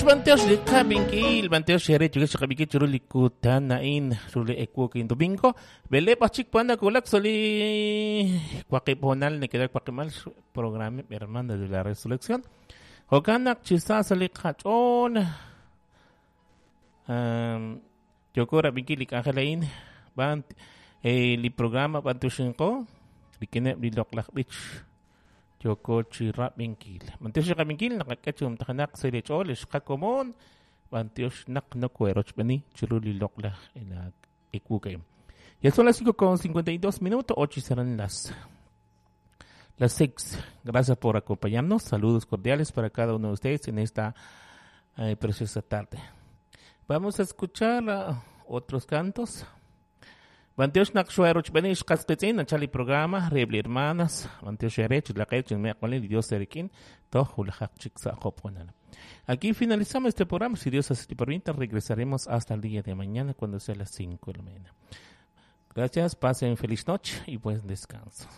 B'antiox li qab'inkil, b'antiox eere chirix qab'inkil chiru li kutan a'in, chiru li ewu kin domingo. B'eleeb' aj chik wan nawulak sa' li waqib' hoonal neke'raj waqimal programa Hermana de la Resurrección. Jo'kan naq chi sa sa' li qach'ool yooko rab'inkil li k'anjel a'in b'an li programa b'antioxinqo rik'ineb' li loq'laj b'ich yooko chi rab'inkil. B'antiox li qab'inkil naqak'e chi umtajenaq sa' li ch'ool lix qakomon b'antiox naq nokoherochb'eni chiru li loq'laj ewu a'in. Ya son las 5:52 minutos, 8 serán las 6. Gracias por acompañarnos. Saludos cordiales para cada uno de ustedes en esta preciosa tarde. Vamos a escuchar otros cantos. B'antiox naq xoerochb'eni xqas qitz'in nachal li programa reheb' li hermanas. B'antiox eere chilaqe chinmeq'olin li Dios erikin toj wulajaq chik sa' job honal. Aquí finalizamos este programa. Si Dios así lo permite, regresaremos hasta el día de mañana cuando sea las 5 de la mañana. Gracias, pasen feliz noche y buen descanso.